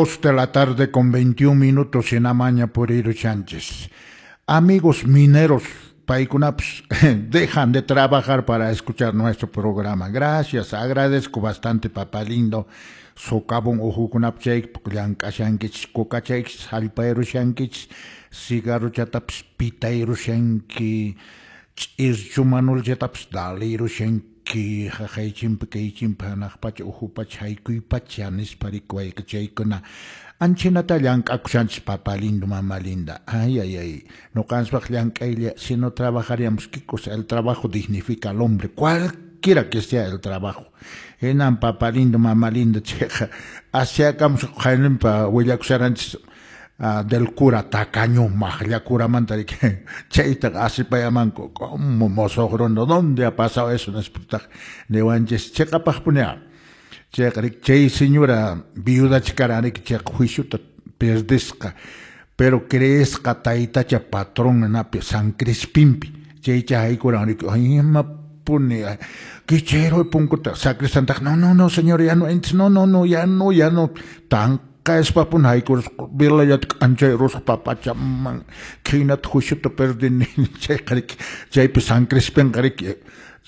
De la tarde con 21 minutos en Amaña por Sánchez. Amigos mineros, paykunapas dejan de trabajar para escuchar nuestro programa. Gracias, agradezco bastante, papá lindo. Socavón uhukunap chayk llank'ashankichis, kukachaykichis, hallpayrushankichis, cigarrochatapas pitayrushanki, ch'irchumanulchatapas dalirushanki, haqaychimpi kaychimpi hanaq pacha uhu pacha haykuy pacha nispa rikuwayqa chaykuna anchinata llank'akushanchis, papá lindo, mamá linda. Ay, ay, ay, ñuqanchispaq llank'aylla, si no trabajaríamos, ¿qué cosa? El trabajo dignifica al hombre, cualquiera que sea el trabajo. Hinan, papá lindo, mamá linda, chayqa asyakamus qayninpa willakusharanchis del cura tacaño maqlla curamanta riki chaytaqa asipayamanku como mosoq runa, ¿dónde ha pasado eso? Nispataq niwanchis chiqapaqpuni chayqa riki chay señora viudacha karan riki chayqa juiciota perdisqa, pero creesqa taytacha patrón napi San Crispinpi chaycha haykuran riki imapuni kichayruy punkuta sacristantaq, "No, no, no, señor, ya no entres, no, no, no, ya no, ya no", tanqaspapuni haykurusqa velallata k'anchayrusqa papachaman khaynata juiciota perdini chayqa riki chaypi San Crispinqa riki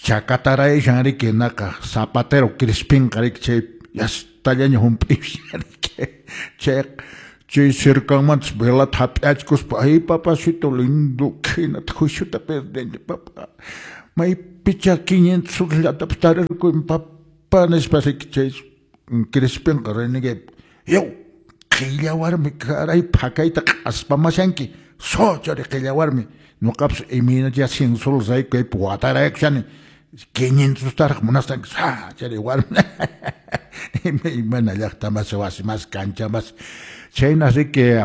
chakatarayashan riki naqa zapatero Crispinqa riki chay yastallaña hump'ishan riki chayqa chay cercanmantas velata hap'achkuspa, "Ay, papacito lindo, khaynata juiciota perdini, papá, maypicha 500 solllatapas tarirquyman, papá", nispa riki chay Crispinqa renegay, "Yaw, qhilla warmi, caray, phakayta q'aspamashanki, sochari qhilla warmi, ñuqapas imaynacha 100 soles rayku kaypi wataraykushani, 500taraq munasqanki, sa chari warmi", imaymana llaqta masi, wasi masi, kancha masi. Chayna riki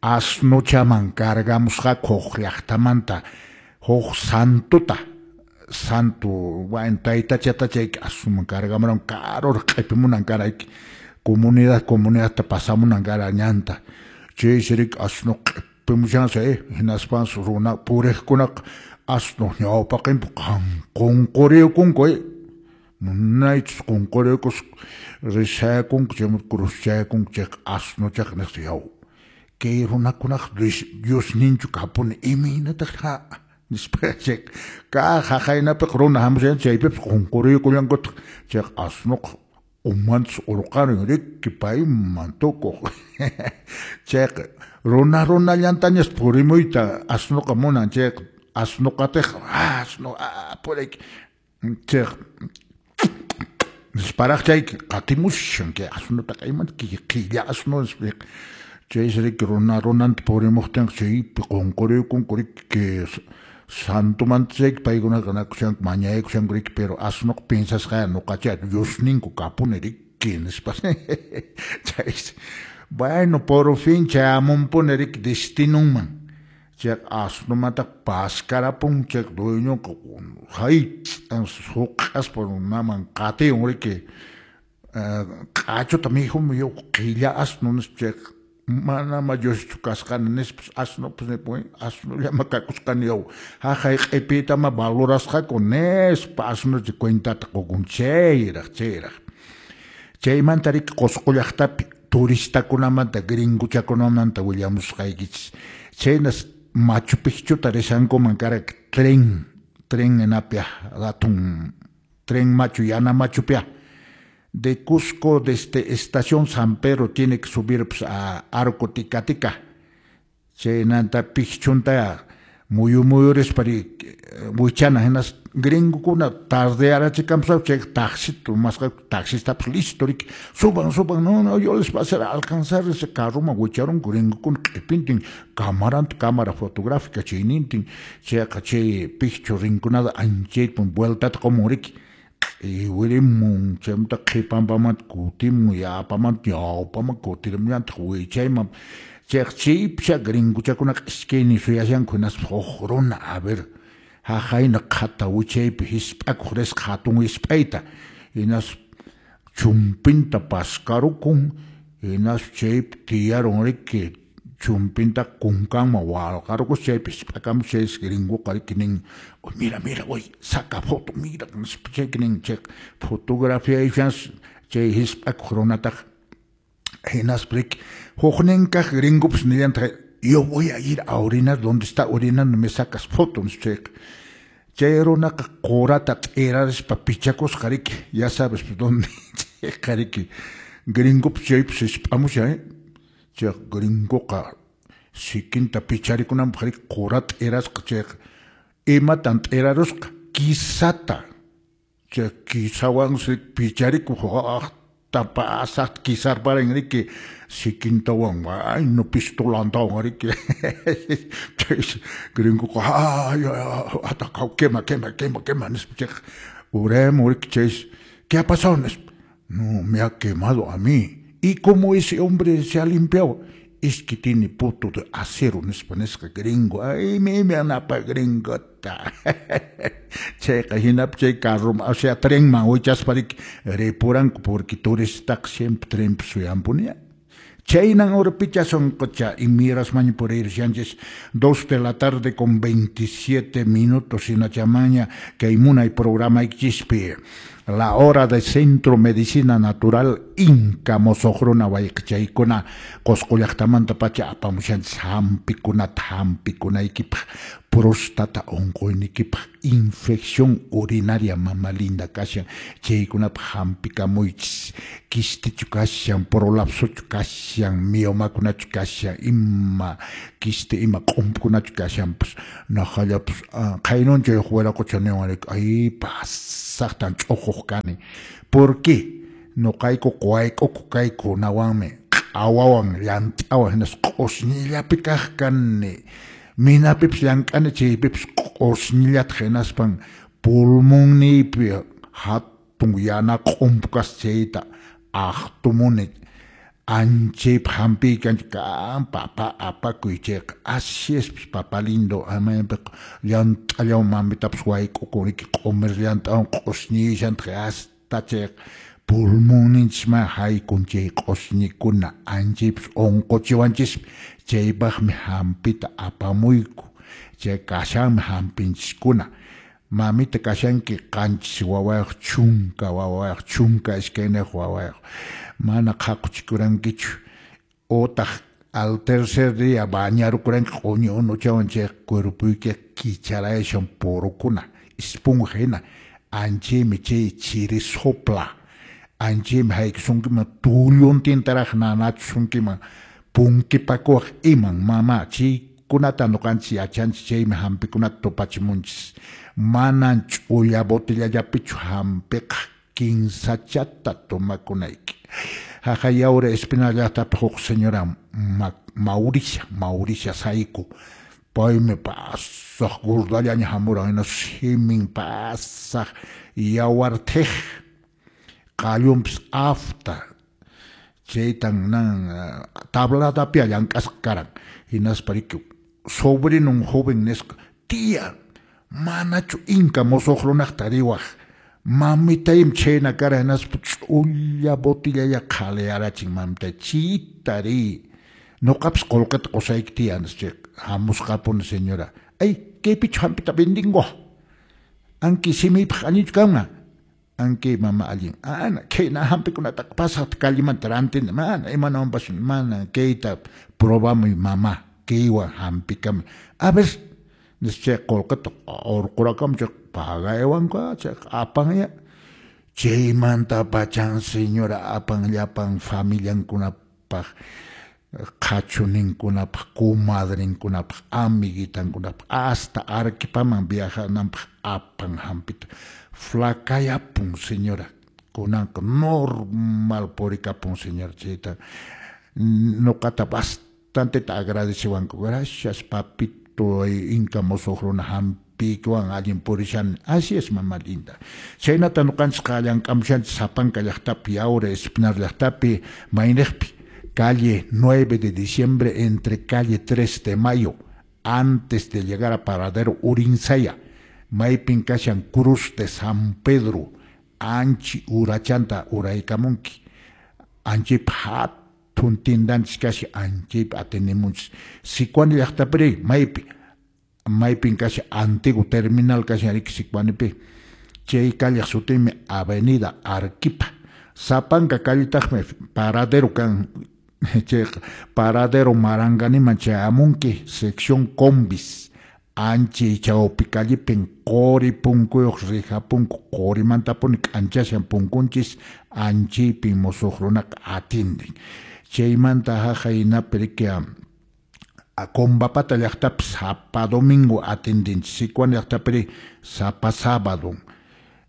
asnuchaman cargamusqaku huk llaqtamanta huk santota, santo, bueno, taytachata chay asnuman cargamuran, karuraq q'ipimunan karayki comunidad comunidadta pasamunan kara ñanta. Chaysi riki asnu q'ipimushansi hinaspansi runa puriqkunaqa asnuq ñawpaqinpi qunquriykunku munaychus qunquriykuspa rishayakunku chaymanta cruzchayakunku chayqa asnuchaqa nisqa, "Yaw, kay runakunaqa Diosninchu kapuni, imaynataq ha", nispa chay kaq haqaynapiqa runa hamushan chaypipas qunquriykullankutaq chayqa asnuqa umantas urqarin riki payman tukuq chayqa runa runallantañas purimuyta asnuqa munan chayqa asnuqatiq asnu puriyki chayqa nisparaq chayki qatimushan kay asnutaqa imanta qhilla asnu nispa chaysi riki runa runanta purimuqtinqa chaypi qunquriykunku riki santomanta chayki paykunaqa nakushanku mañaykushanku riki, pero asnuqa piensasqa ñuqacha Diosninku kapuni riki nispa chaysi bueno, por fin chayamunpuni riki destinunman. Chayqa asnumanta paskarapun chayqa dueñoqa hay suq'aspa runaman qatiyun riki q'achuta mikhumi qhilla asnu nispa chayqa manama Dioschu kasqani nispas asnupas nipun asnullama kakusqani yaw haqay q'ipiytama valorasqaku nispa asnucha cuentata qukun chayraq chayraq. Chaymanta riki Qusqu llaqtapi turistakunamanta gringuchakunamanta willamusqaykichis. Chaynas Machu Picchuta rishankuman kara tren tren napia hatun tren machu yana machupia de Cusco, desde estación San Pedro tiene que subir, pues, a Arco Tica-Tica. Chaynanta Picchunta muyu muyurispa wichana hinas gringokuna tardearachikamspa chay taxito masqa taxistapas listo riki, "Suban, suban, no, no, yo les voy a hacer alcanzar ese carroman wicharunku gringokuna q'ipintin camaranta, cámara fotográfica chaynintin chayqa chay Picchu rinkunata anchayta vueltata qumun riki q'iwirimun chaymanta qhipanpamanta kutimun yapamanta ñawpaman kutirimllantaq wichayman chayqa chaypisha gringuchakunaqa iskaynin suyashanku hinaspa huk runa a ver haqayna qhata wichaypi hisp'akuq risqa hatun hisp'ayta hinaspa chumpinta paskarukun hinaspa chaypi tiyarun riki chumpinta kunkanman walqarukus chaypi hisp'akamus chaysi gringuqa riki nin, "Mira, mira, oy, saca foto, mira", nispa chayki nin chay fotografiayushansi chay hisp'akuq runataqa. Hinaspa riki huknin kaq gringopas nillantaq, yo voy a ir a orinar donde está orinando, me sacas foto, nispa chayqa. Chay runaqa qurata t'irarispa pichakusqa riki, ya sabes dónde chayqa riki. Gringopas chaypas hisp'amushan, eh? Chay gringoqa sikinta picharikunanpaq riki qurata t'irasqa chayqa. Imatan t'irarusqa? Kisata. Chay kisawansi picharikuq aqta pasaqta kisarparin riki sikintawan ayno pistolantawan riki. Chaysi gringoqa ay ataqa quema quema quema quema nispa chayqa uraymun riki chaysi ¿qué ha pasado? Nispa. No, me ha quemado a mí. ¿Y cómo ese hombre se ha limpiado? Es que tiene poto de acero, nispa nisqa gringo. Ay, mi napa gringota. Chayqa hinapi chay carro, o sea, trenman wichaspa riki ripuranku porque turistaqa siempre trenpi suyanpuni. Chaynan urpicha sonqocha y mirasmaña puririshanchis 2 de la tarde con 27 minutos hinachamaña kay munay programaykichispi La Hora de Centro Medicina Natural Inka Mosoqruna wayqichaykuna Qusqu llaqtamanta pacha apamushanchis hampikunata hampikunaykipaq próstata unquynikipaq infección urinaria mama linda kashan chaykunapaq hampikamuychis kistichu kashan prolapsochu kashan miomakunachu kashan ima kisti ima q'umpukunachu kashanpas naqallapas qaynunchay huk wiraqucha niwan riki ay pasaqtan ch'uquq kani. ¿Por qué? Nuqayku wayk'ukuq kaykunawanmi q'awawan llant'awan hinaspa q'usñillapi kaq kani. Minapipas llank'ani chaypipas q'usñillataq hinaspan pulmonniypi hatun yana q'umpu kasqa chayta aqtumuni anchaypaq hampiykanchik kan papa apakuy chayqa. Así es papa lindo, maypiqa llant'allawan mamitapas wayk'ukun riki q'umir llant'awan q'usñishantaq hasta chayqa pulmonninchisman haykun chay q'usñikuna anchaypas unquchiwanchismi chaypaqmi hampita apamuyku chay kashanmi hampinchiskuna. Mamita kashanki 7 wawayuq 10 wawayuq 12 wawayuq mana qhaquchikurankichu utaq al tercer día bañarukuranki q'uñi unuchawan chay cuerpoyki kicharayashan porukuna esponja hina anchaymi chay chiri sopla anchaymi haykusunkiman tulluntintaraq nanachisunkiman punkipakuwaq iman mama chaykunata ñuqanchis yachanchis chaymi hampikunata tupachimunchis manan ch'ulla botellallapichu hampiqa kinsachata tomakunayki. Haqay Yauri Espinal llaqtapi huk señora Mauricia, Mauricia Saico paymi pasaq gordallaña hamuran hina simin pasaq yawar thiq qallunpas afta chaytan nan tabladapia llank'asqa karan hinaspa riki sobrinon joven nisqa tía manachu inka musuq runaqta riwaq mamitaymi chhayna karan hinaspa ch'ulla botellalla qhaliyarachin mamitay chita riy nuqapas qullqita qusayki tiyan nispa hamusqapuni señora ay kaypichu hampita vendingo anki simiypaq allinchu kanman anki mama allin ana khayna hampikunataqa pasaqta callemanta rantini mana imanawanpas mana kayta probamuy mama kaywan hampikamuy a ver nispa chay qullqita urqurakamun chay pagaywanku chayqa apanya chaymanta pachan señora apan llapan familiankunapaq qhachuninkunapaq comadrenkunapaq amiguitankunapaq hasta Arequipaman viajananpaq apan hampita flacayapun señora kunanqa normal purikapun señora chayta nuqata bastanteta agradecewanku gracias papito inka musuq runa hampiykiwan allin purishani así es mama linda chaynata ñuqanchisqa llank'amushanchis sapanka llaqtapi Yauri Espinar llaqtapi mayniqpi calle 9 de diciembre entre calle 3 de mayo antes de llegar a Paradero Urinsaya maypin kashan Cruz de San Pedro anchi urachanta uraykamunki anchaypa hatun tindanchis kashan anchaypi atenimunchis Sicuani llaqtapiri maypi maypin kashan antiguo terminal kashan riki Sicuanipi chay calleq sutinmi Avenida Arequipa sapanka calletaqmi paradero kan Chayqa paradero Maranganiman chayamunki, sección combis, anchi chawpi callipin quri punkuyuq rija punku, qurimantapuni k'anchashan punkunchis, anchiypin musuq runaqa atindin. Chaymanta haqay hinapi riki Combapata llaqtapi sapa domingo atindinchis, Sicuani llaqtapiri sapa sábado.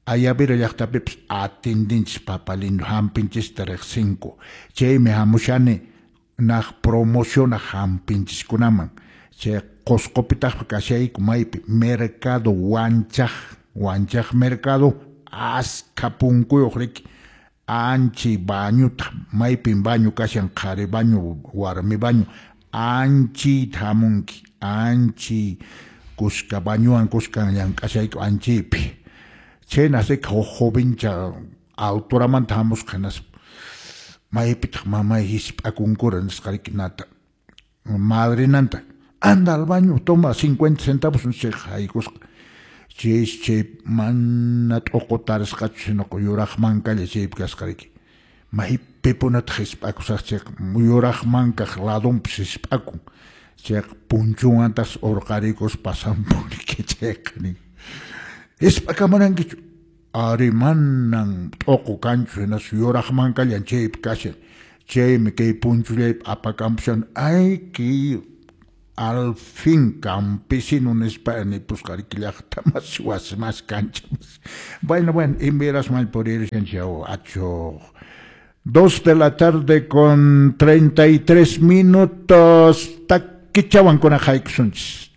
Ayavira llaqtapipis atindinchis papa lindo hampinchista riqsinku. Chaymi hamushani naq promocionaq hampinchiskunaman. Chay Qusqupitaqmi kashayku maypi mercado Wanchaq, Wanchaq mercado askha punkuyuq riki, anchay bañutaq, maypin baño kashan qhari baño, warmi baño, anchiyta hamunki, anchiy kuska bañowan kuskan llank'ashayku anchiypi. Chhayna riki huk jovencha alturamanta hamusqa hinaspa maypitaq mamay hisp'akunkura nisqa riki nata madrinanta anda al baño toma 50 centavos chayqa haykusqa. Chaysi chay mana t'uqu tarisqachu sinoqa yuraq mankalla chaypi kasqa riki. Maypipunataq hisp'akusaq chayqa yuraq mankaq ladonpis hisp'akun. Chayqa punchunwantaqsi urqarikuspa pasanpun riki chayqa nin. Hisp'akamurankichu? Ari manan t'uqu kanchu hinaspa yuraq mankallan chaypi kashan. Chaymi kay punchullaypi apakampushan. Ay kay al fin campesino nispa nipusqa riki llaqta masi wasi masi kancha masi. Bueno, bueno, invirasman puririshanchis achuq. 2 de la tarde con 33 minutos. Takichawan kuna haykusunchis.